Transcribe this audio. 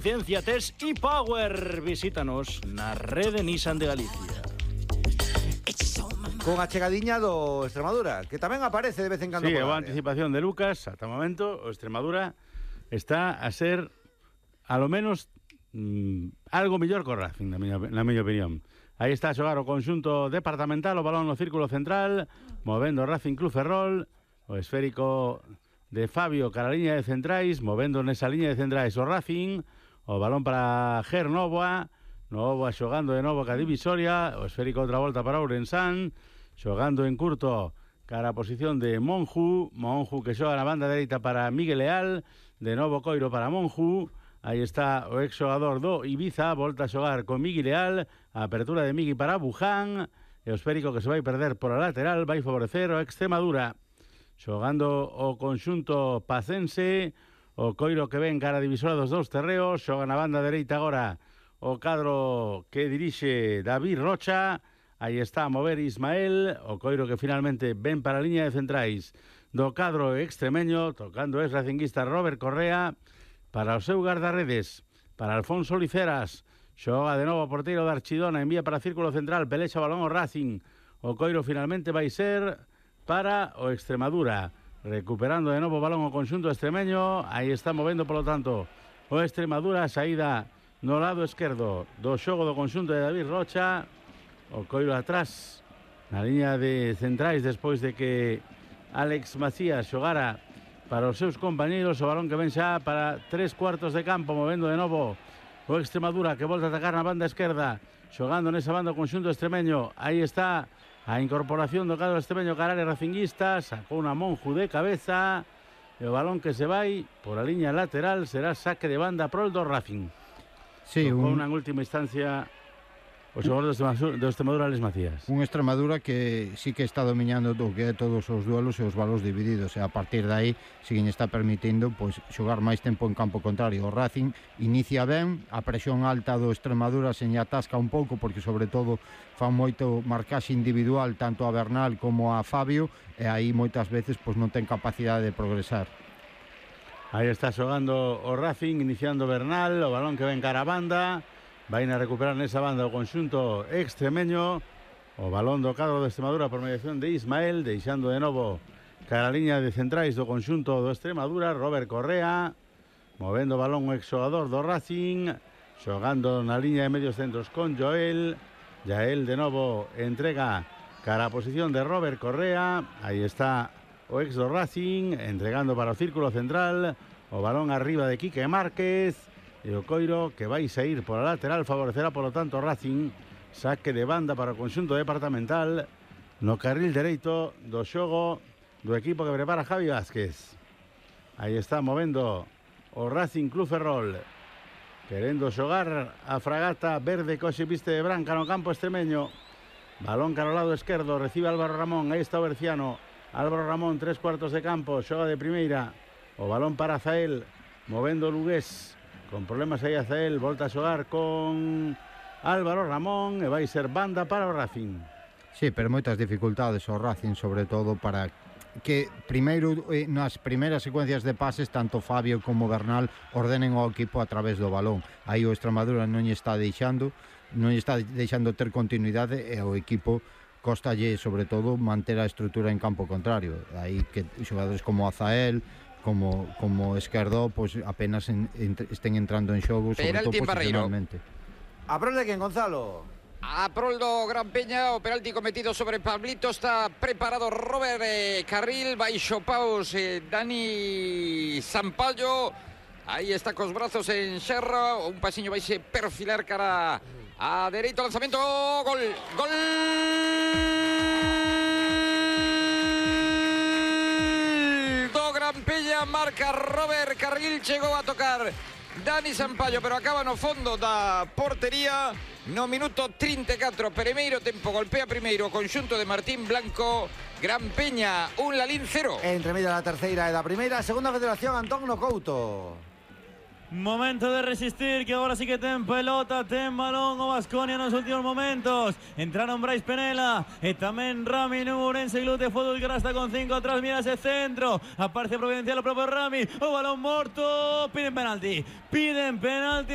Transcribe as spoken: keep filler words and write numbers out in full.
Ciencia Test y Power. Visítanos na rede Nissan de Galicia. Con a chegadiña do Extremadura, que tamén aparece de vez en cando. Sí, por a área. anticipación de Lucas, ata o momento, o Extremadura está a ser, a lo menos, mmm, algo mellor co Racing, na miña, na miña opinión. Aí está a xogar o conxunto departamental, o balón no círculo central, movendo o Racing Club Ferrol, o esférico de Fabio cara a liña de centrais, movendo nesa liña de centrais o Racing, o balón para Ger Novoa, Novoa xogando de novo ca divisoria, o esférico outra volta para Ourensán, xogando en curto cara a posición de Monju, Monju que xoga na banda dereita para Miguel Leal, de novo Coiro para Monju, aí está o ex xogador do Ibiza, volta a xogar con Miguel Leal, a apertura de Migui para Buján, e o esférico que se vai perder por a lateral vai favorecer o Extremadura, xogando o conxunto pacense, o Coiro que ven cara a divisora dos dous terreos, xoga na banda dereita agora o cadro que dirixe David Rocha, aí está a mover Ismael, o Coiro que finalmente ven para a liña de centrais do cadro extremeño, tocando es racinguista Robert Correa, para o seu guardarredes, para Alfonso Liceras, xoga de novo o porteiro de Archidona, envía para círculo central, pelexa balón o Racing, o Coiro finalmente vai ser para o Extremadura, recuperando de novo o balón o conxunto extremeño, aí está movendo polo tanto o Extremadura, a saída no lado esquerdo do xogo do conxunto de David Rocha, o Coiro atrás na liña de centrais despois de que Alex Macías xogara para os seus compañeiros, o balón que ven xa para tres cuartos de campo, movendo de novo o Extremadura que volta a atacar na banda esquerda, xogando nesa banda o conxunto extremeño, aí está a incorporación do cadro extremeño carare racinguista, sacou unha Monju de cabeza, e o balón que se vai por a liña lateral será saque de banda pro do Racing. Sí, Tocou un... unha última instancia o xogador do Extremadura, Alex Macías. Un Extremadura que sí que está dominando o que é todos os duelos e os balos divididos, e a partir de aí si que está permitindo pois xogar máis tempo en campo contrario. O Racing inicia ben, a presión alta do Extremadura se atasca un pouco porque sobre todo fan moito marcaxe individual tanto a Bernal como a Fabio, e aí moitas veces pois non ten capacidade de progresar. Aí está xogando o Racing, iniciando Bernal, o balón que ven cara a banda, vai a recuperar nesa banda o conxunto extremeño, o balón do cadro de Extremadura por mediación de Ismael, deixando de novo cara a liña de centrais do conxunto do Extremadura, Robert Correa, movendo o balón o exxogador do Racing, xogando na liña de medios centros con Joel, Jael de novo entrega cara a posición de Robert Correa, aí está o ex do Racing, entregando para o círculo central, o balón arriba de Quique Márquez, e o Coiro que vai sair por a lateral, favorecerá polo tanto Racing, saque de banda para o conxunto departamental no carril dereito do xogo do equipo que prepara Javi Vázquez. Aí está movendo o Racing Club Ferrol, querendo xogar a fragata verde coxe viste de branca no campo extremeño, balón cara ao lado esquerdo, recibe Álvaro Ramón, aí está o Berciano, Álvaro Ramón, tres cuartos de campo, xoga de primeira, o balón para Zael, movendo o Lugués, con problemas aí a Zael, volta a xogar con Álvaro Ramón e vai ser banda para o Racing. Sí, pero moitas dificultades o Racing, sobre todo para que primeiro eh, nas primeiras secuencias de pases tanto Fabio como Bernal ordenen o equipo a través do balón. Aí o Extremadura non lle está deixando, non lle está deixando ter continuidade e o equipo costalle sobre todo manter a estrutura en campo contrario. Aí que xogadores como Azael, como como Esquerdó, pois pues, apenas en, en, estén entrando en xogo, sobre todo posicionalmente. A prol de quen, Gonzalo? A prol do Gran Peña, o penalti cometido sobre Pablito, está preparado Robert eh, Carril, baixo paus eh, Dani Sampaio, aí está cos brazos en xerra, un pasiño vai se perfilar cara a dereito, lanzamento, gol, gol do Gran Peña, marca Robert Carril, chegou a tocar Dani Sampaio, pero acaba no fondo da portería. No minuto trinta e catro, primeiro tempo, golpea primeiro o conxunto de Martín Blanco. Gran Peña, un Lalín cero. Entre medio da terceira e da primeira, segunda federación, Antón Nocouto. Momento de resistir, que ahora sí que ten pelota, ten balón o Baskonia nos últimos momentos. Entraron Brais Penela e tamén Rami Nurense Glute Fútbol, que ahora está con cinco atrás, mira ese centro, aparece Providencial o propio Rami, o balón morto, piden penalti, piden penalti.